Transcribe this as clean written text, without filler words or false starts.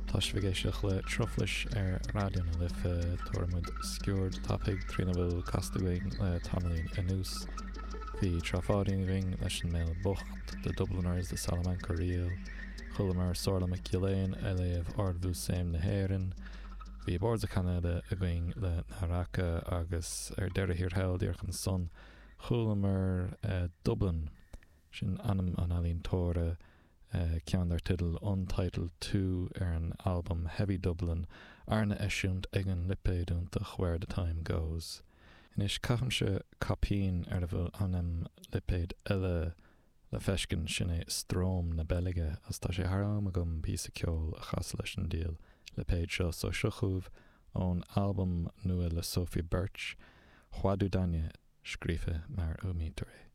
Tá sibh ag éisteacht le Truflais ar Raidió na Life. Tabharfaidh muid sciuird tapaidh trína bhfuil casta againn le tamaillín anuas. Bhí Trá Pháidín againn leis an mBéal Bocht, The Dubliners, The Salamanca Reel. Chualamar Somhairle MacGill-Eain ag léamh Ard-Mhúsaem na hÉireann. Bhí Boards of Canada againn le Naraka agus ar deireadh thiar thall díreach ansan chualamar Dublin. Sin ainm an ealaíontóra, ceann dar teideal Untitled 2 ar an albam Heavy Dublin, arna eisiúint ag an lipéad iontach Where the Time Goes. Anois, caithimse caipín ar a bhfuil ainm lipéid eile le feiscint, sin é Stroom na Beilge, agus tá sé thar am agam píosa ceoil a chasadh leis an diabhal lipéad seo, so seo chugaibh ón albam nua le Sophie Birch, Whaduddanya, scríofa mar a fhuaimnítear é.